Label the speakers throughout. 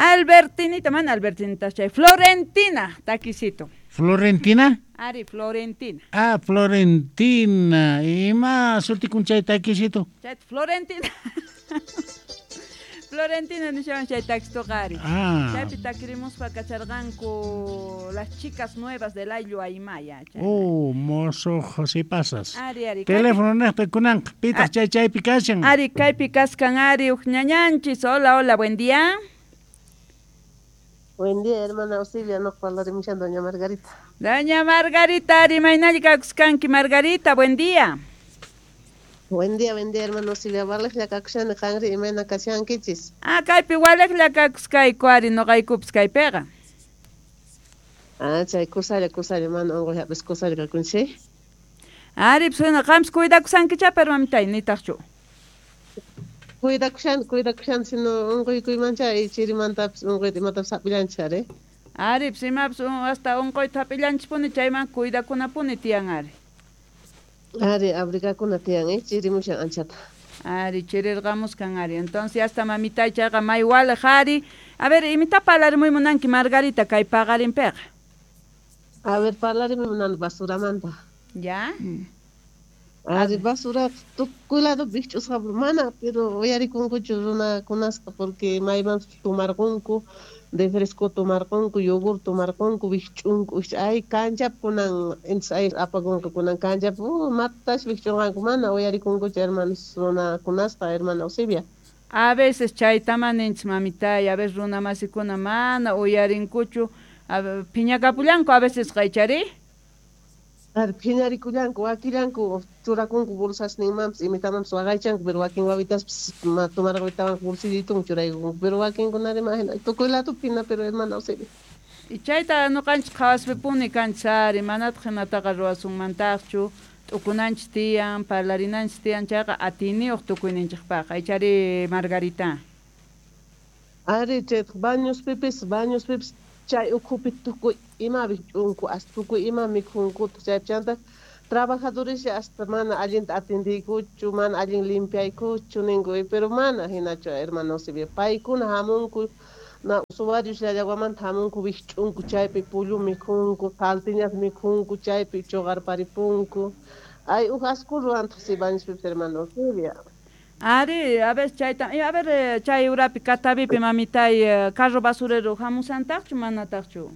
Speaker 1: Albertinita, mana Albertinita chay Florentina takisito.
Speaker 2: Florentina?
Speaker 1: Ari, Florentina.
Speaker 2: Ah, Florentina. Ima sutikun chay takisito?
Speaker 1: Chay Florentina. Florentina nishawan chay takisitoqa ari.
Speaker 2: Ah.
Speaker 1: Chaypi takirimuspa kacharqanku las chicas nuevas del Ayllu Aymaya.
Speaker 2: Oh, mozo José Pasas.
Speaker 1: Ari, ari.
Speaker 2: Teléfono neqta kunanqa pitaq chay chaypi kashan.
Speaker 1: Ari, kaypi kaskan ari uj ñañanchis. Hola, hola, buen día.
Speaker 3: Buen día, hermana Auxilia, no parlarimushan doña Margarita.
Speaker 1: Doña Margarita, ari maynalli kakuskanki Margarita, buen día.
Speaker 3: Buen día, hermano Auxilia. Walejlla kakushani qanri imayna kashankichis.
Speaker 1: Ah, kaypi walejlla kakuskayku ari noqaykupis kaypiqa.
Speaker 3: Ah, chay kusalla mana unquy hap'is kusalla kakunchik.
Speaker 1: Ari, pues qampis cuidakusankicha, pero mamitay nitaqchu.
Speaker 3: Cuidakushani sino unquykuymancha chirimantapis unquyta imatapis hap'illanchis ari.
Speaker 1: Ari, pues imapis hasta unquyta hap'illanchispuni chayman cuidakunapuni tiyan ari.
Speaker 3: Ari, abrigakuna tiyan, chirimushan anchata.
Speaker 1: Ari, chirirqamuskan ari. Entonces hasta mamitay chayqa may walej ari. A ver, imita parlarimuy munanki Margarita kay paqarinpiqa.
Speaker 3: A ver, parlarimuy munani basuramanta.
Speaker 1: Ya.
Speaker 3: Ari, basura tukuy lado wikch'usqa mana, pero uyarikunkuchu runakunasqa porque maymanpis tomarqunku, refresco tomarqunku, yogur tomarqunku, wikch'unku, ay kanchapi kunan ay apakunqa kunan kanchapi, matash wikch'unqanku mana uyarikunkuchu hermanos runakunasqa, hermana Eusebia.
Speaker 1: A veces chaytama ninchis mamitay, a veces runamasikuna mana uyarinkuchu, phiñakapullanku a veces qaychari.
Speaker 3: Ari, phiñarikullanku, wakillanku churakunku bolsasninmanpis imitamanpis waqaychanku, pero wakin wawitaspis tomarquytawanqa bolsillitunku churaykunku, pero wakinkunari imagina tukuy ladopi hina, pero hermana Eusebia.
Speaker 1: Y chayta noqanchis qhawaspipuni kanchis ari, manataq hinataqa ruwasunmantaqchu, t'ukunanchis tiyan, parlarinanchis tiyan, chayqa atiyniyuq tukuyninchikpaq, aychari Margarita.
Speaker 3: Ari, chaytaq bañospipis chay ukhupi tukuy ima wikch'unku, hasta tukuy ima mikhunku, chaypi chanta trabajadores hasta mana allinta atendiykuchu, mana allin limpiaykuchu ninku, pero mana hinachu hermano Eusebia, paykuna hamunku, na usuarios llallawamanta hamunku wikch'unku, chaypi pullu mikhunku, saltiñas mikhunku, chaypi chuqarparipunku. Ay, uj asku ruwantaq si bañospipis hermano Eusebia.
Speaker 1: Ari, a ver, chayta, a ver, chay urapi Catavipi mamitay carro basurero hamusantaqchu manataqchu?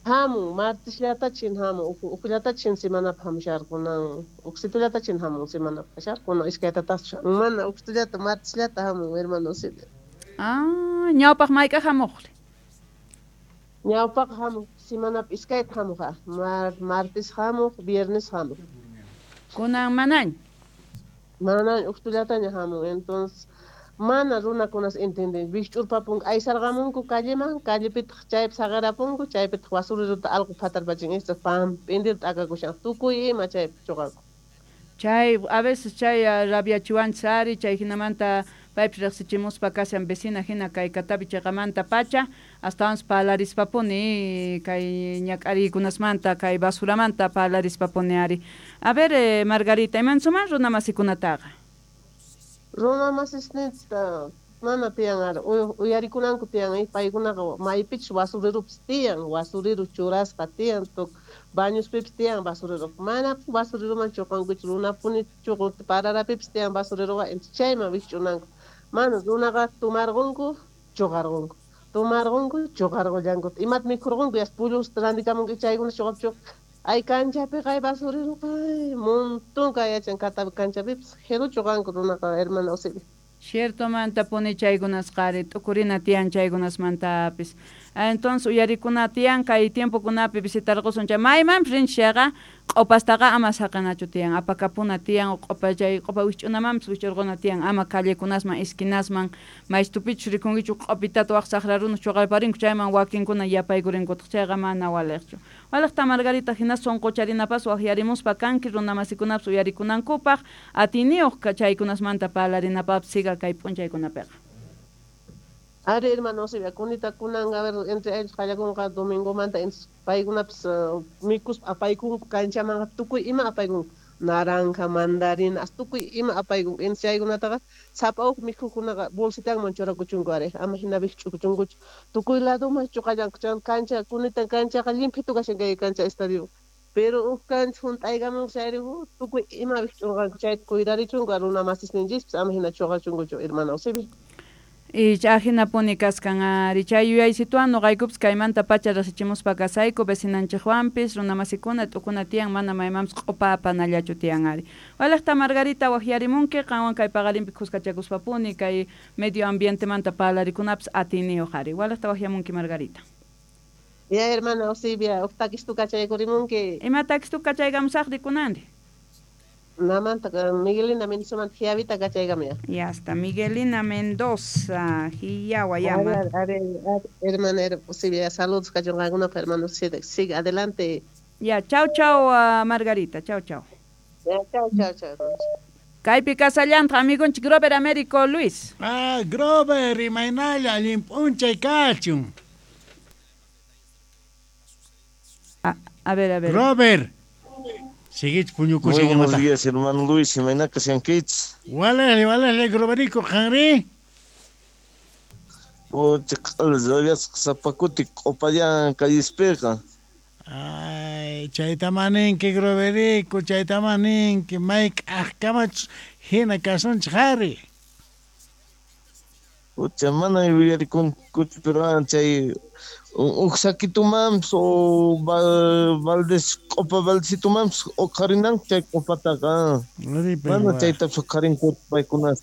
Speaker 3: Hamun, martisllata chin hamun, ukllata chin semanapaq hamusharqunan, uksitullata chin hamun semanapaq kasharqunan, iskaytataqchu, mana uksitullata martisllata hamun, hermano Eusebia.
Speaker 1: Ah, ñawpaq mayk'aq hamuqri?
Speaker 3: Ñawpaq hamuq, semanapaq iskayta hamuqa, martes hamuq, viernes hamuq.
Speaker 1: Kunan manañ?
Speaker 3: Mana uqtullataña hamun, entonces mana runakunas entienden, wikch'urpapunku aysarqamunku calleman, callepitaq chaypi saqirapunku, chaypitaq basureruta allqu phatarpachin, esta pamp'intirta t'akakushan, tukuy ima chaypi chuqanku.
Speaker 1: Chay, a veces chay rabiachiwanchis ari, chay hinamanta paypis riqsichimuspa kashan vecina hina kay Catavi chayqamanta pacha, astawanpas parlarispapuni kay ñak'ariykunasmanta, kay basuramanta parlarispapuni ari. A ver, Margarita, imansuman runamasikunataqa?
Speaker 3: Runamasisninchista mana tiyan ari, uyarikunanku tiyan, paykunaqa maypichus basurerupis tiyan, basurero churasqa tiyan, bañospipis tiyan basurero, mana basureroman chuqankuchu, runapuni chuqun, pararapipis tiyan basureroqa, chayman wikch'unanku. Mana runaqa tomarqunku, chuqarqunku, tomarqunku, chuqarqullanku, imata mikhurqunku, yas pullusta rantikamunku, chaykuna chuqap ay kanchapiqa ay basureroqa, ay montón kay yachan Catavi kanchapipis, jero chuqanku runaqa, hermana Eusebia.
Speaker 1: Ciertomanta puni chaykunasqa ari, t'ukurina tiyan chaykunasmantapis. Entonces uyarikuna tiyan kay tiempokunapi visitarqusun chay maymanpis rinchis chayqa q'upastaqa ama saqinachu tiyan, apakapuna tiyan, q'upa chay q'upa wikch'unamanpis wikch'urquna tiyan, ama callekunasman, esquinasman, maystupichus rikunkichu q'upitata waq saqra runas chuqarparinku chayman wakinkuna yapaykuриnkutaq, chayqa mana waliqchu. Waliqta Margarita hina sunqucharinapas waqyarimuspa kanki runamasikunapis uyarikunankupaq, atiyniyuq chaykunasmanta parlarinapapis siga kay p'unchaykunapiqa.
Speaker 3: Ari, hermano Eusebia, kunita kunan, a ver, entre ellos qallakunqa domingomanta, paykunapis mikuspa apaykunku kanchamanqa tukuy ima apaykunku. Naranja, mandarina, tukuy ima apaykunku. Chaykunataqa sapa huk mikhuqkunaqa bolsitanman churakuchunku ari, ama hina ch'ukuchunkuchu. Tukuy ladoman chuqallanku. Chay cancha kunitan canchaqa llimphitu kashan kay cancha estadio. Pero huk cancha hunt'aykamun chayri tukuy ima ch'unqanku chayta cuidarichunku runa masisninchispis ama hina chuqachunkuchu hermana Eusebia.
Speaker 1: Y ajinapuni kaskan ari chay yuyaysituwan nuqaykupis kaymanta pacha riqsichimuspa kasayku vecinanchikwanpis runamasikuna t'ukuna tiyan mana maymanpis q'upa apanallachu tiyan ari. Waliqta Margarita waqyarimunki qanwan kay paqarinpi khuskachakuspapuni kay medio ambientemanta parlarikunapis atiyniyuq ari. Waliqta waqyamunki Margarita.
Speaker 3: Ya hermana Eusebia, huk takistu kachaykurimunki.
Speaker 1: Ima takistu kachaykamusaqri kunanri?
Speaker 3: Namanta Miguelina Mendoza Jiavita kachaykamia.
Speaker 1: Ya está, Miguelina Mendoza, Jiawa llama.
Speaker 3: A ver, hermana Eusebia, saludos kachunqankunapaq hermano, sigue adelante.
Speaker 1: Ya, chau chau Margarita, chau chau.
Speaker 3: Ya, chau chau chau.
Speaker 1: Kaypi kasallantaq amigonchik Grover Américo Luis.
Speaker 2: Ah, Grover, imaynalla allin p'unchay kachun.
Speaker 1: A ver, a ver.
Speaker 2: Grover. Seguich puñukushan
Speaker 4: Muy buenos
Speaker 2: imata.
Speaker 4: días, hermano Luis, imayna kashankichis.
Speaker 2: Walali, walali, Groverico, qanri.
Speaker 4: Pucha, q'ala sapakuti q'upallan kallispiqa.
Speaker 2: Ay, chayta maninki, Groverico, chayta maninki, mayk'aqkamachus hina kasunchik ari.
Speaker 4: Pucha, mana yuyarikunkuchu, pero chay huk sakitumanpis o baldes q'upa baldesitumanpis uqharinanku chay q'upataqa. Mana chaytapas uqharinkuchu paykunas.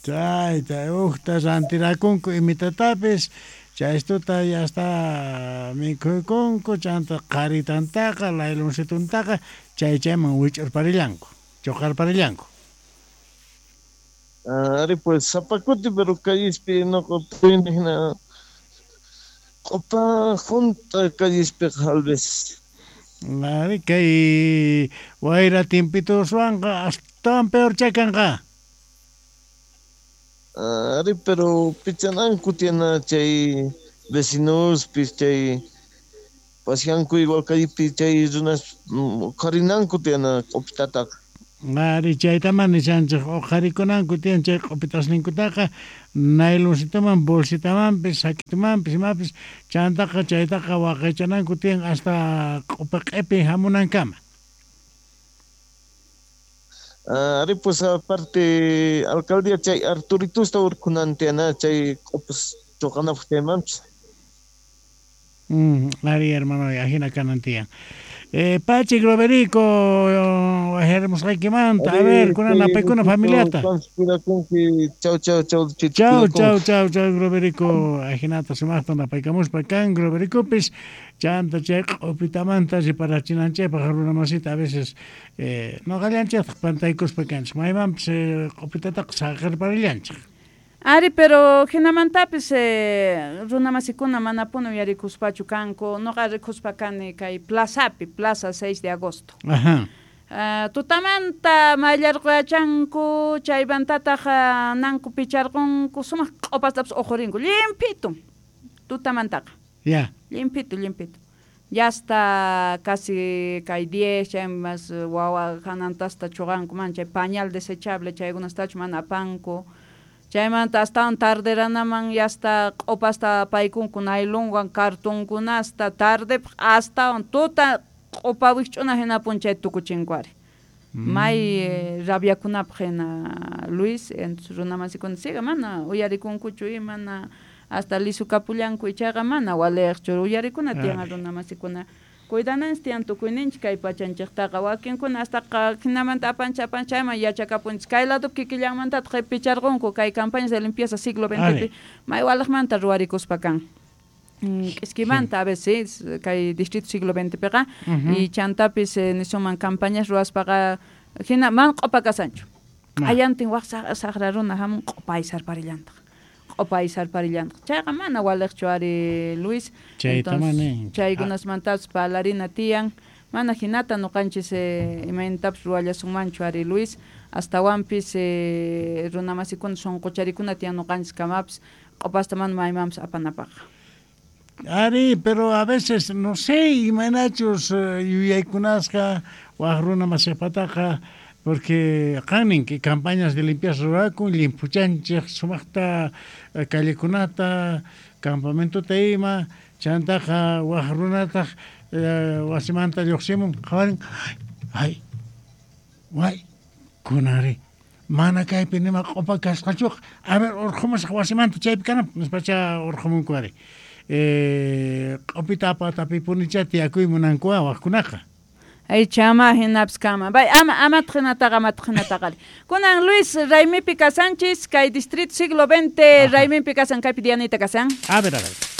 Speaker 2: Chayta hukta rantirakunku imitatapis, chaystuta ya está mikhuykunku, chanta qharitantaqa, layluncituntaqa, chay chayman wich'urparillanku, chuqarparillanku.
Speaker 4: Ari pues sapakuti, pero kallispi noqa puyni hina q'upa junta kallispiqa alves.
Speaker 2: Ari kay wayra timpituswanqa astawan peor chakanqa.
Speaker 4: Ari pero pichananku tiyana chay vecinospis chay pasyanku igual kallipi chay runas uqharinanku tiyana q'upitataqa.
Speaker 2: Ari chaytaman nishanchik uqharikunanku tiyan chay q'upitasninkutaqa nayloncitoman bolsitamanpis sakitumanpis imapis chantaqa chaytaqa waqaychananku tiyan hasta q'upa q'ipi hamunankama.
Speaker 4: Ari pues aparte alcaldía chay Arturitusta urqunan tiyana chay q'upas chuqanapaq chaymanpis.
Speaker 2: Ari hermano, ajina kanan tiyan. Pachi Groverico, waqyarimusqaykimanta, a ver, kunan apaykuna familiata.
Speaker 4: Chau, chau, chau,
Speaker 2: chau, chau, chau, chau, Groverico, ajinata sumaqta napaykamuspa kan Grovericopis, chanta chay q'upitamanta riparachinanchikpaq runamasita a veces nuqallanchiktaj pantaykuspa kanchik, maymanpis q'upitataqa saqirparillanchik.
Speaker 1: Ari, pero hinamantapis runamasikuna manapuni uyarikuspachu kanku, nuqa rikuspa kani kay plazapi, plaza 6 de agosto.
Speaker 2: Ajá.
Speaker 1: Tutamanta mayllarquyachanku, chaymantataq nanku picharqunku, sumaq q'upastapas uqurinku, llimphitu, tutamantaqa.
Speaker 2: Ya.
Speaker 1: Llimphitu, llimphitu. Ya hasta casi kay 10, chay más wawa hanantasta chuqanku, man chay pañal desechable chaykunastachu mana apanku. Chaymanta astawan tarderanaman ya hasta q'upasta paykunku naylonwan cartonkunasta tardepaq astawan tuta q'upa wikch'una hinapun chay tukuchinku ari. May rabiakunapaq hina Luis, entonces runamasikuna siga mana uyarikunkuchu y mana hasta lisukapullanku ichaqa mana waliqchu uyarikuna tiyan runamasikuna. Cuidananchik tiyan tukuyninchik kay pachanchiktaqa wakinkuna hasta hinamanta apanchik apanchik chayman yachakapunchik kay ladopi kikillanmantataq picharqunku kay campañas de limpieza siglo XX may waliqmanta ruwarikuspa kan. K'iskimanta a veces kay distrito siglo XXpiqa y chantapis nisuman campañas ruwaspaqa hina man q'upa kasanchu. Q'ayantin waq saqra runa hamun q'upa aysarparillantaq. Q'upa aysarparillantaq. Chayqa mana waliqchu ari Luis.
Speaker 2: Entonces,
Speaker 1: chaykunasmantapas parlarina tiyan. Mana hinata nuqanchis imaynatapas ruwallasunmanchu ari Luis. Astawanpis runamasikuna sunqucharikuna tiyan nuqanchis kamapis q'upasta mana maymanpis apanapaq.
Speaker 2: Ari, pero a veces, no sé, imaynachus yuyaykunasqa waq runa masiqpataqa, porque qanin que campañas de limpieza rurakun, limpuchanchik sumaqta callekunata, campamentota ima, chantaqa waq runataq wasimanta lluqsimun, qhawarin, ay, way, kunari, mana kaypi nima q'upa kasqachuqa, a ver, urqhumusaq wasimanta chaypi kananpaq, nispacha urqhumunku ari. Q'upita apatapipunicha tiyakuy munankuwa waqkunaqa.
Speaker 1: Ay chama hinapis kama. Bay ama amataq hinataqa amataq hinataqa. Kunan Luis Raymipi kasanchis kay distrito siglo XX Raymipi kasan kaypi Dianita kasan.
Speaker 2: A ver, a ver.